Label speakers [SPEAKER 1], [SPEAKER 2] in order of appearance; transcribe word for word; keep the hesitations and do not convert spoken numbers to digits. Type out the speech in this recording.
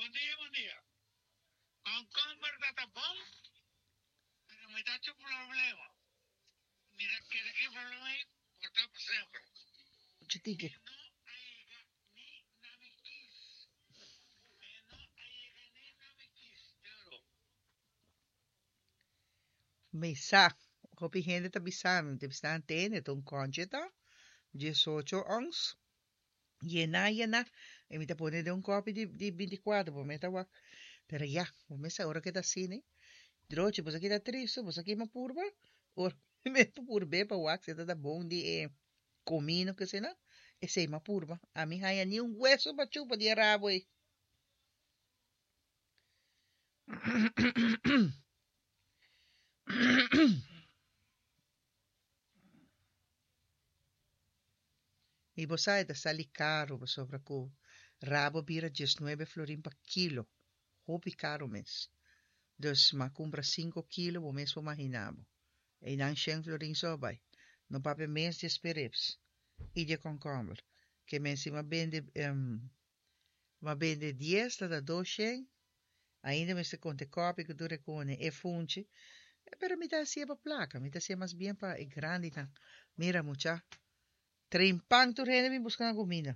[SPEAKER 1] Bon dia, bon dia. Komkomber ta ta bon, pero mi ta cu problema. Mi ta kere cu e problema ei por ta pa semper.
[SPEAKER 2] Muchu tiki.
[SPEAKER 1] E no a yega ni na mi kis. E no a yega ni na mi kis, te oro.
[SPEAKER 2] Mi sa, hopi hende ta bisa mi, ta bisa nan tene, ta un kònchi ta, diesocho ons, yená yená, i mi ta pone den un kòpi di di binti kuater, bo mester wak. Pero ya, bo mester sa ora ke ta asina ei. Drochi, boso a kita tristu, boso a kima purba, ora mi purb'é pa wak si e ta ta bon di e komino ke esei nan, esei mi a purba. Ami haña ni un weso pa chupa di e rabo ei. I bo sa e ta sali karu pasobra ku rabo bira diesnuebe florin pa kilo, hopi karu mes. Dus m'a kumpra sinku kilo bo mes por mahina bo. Einan shen florin so a bai. No papia mes di e sperrips i di e kònkòmber. Ke men si m'a bende m'a bende dies ta ta dos shen, ainda mester konta e kòpi ku tur e kune, e funchi. Pero mi ta hasié pa plaka, mi ta hasié mas bien pa e grandinan. Mira mucha, trimpan tur hende bin buska nan kuminda.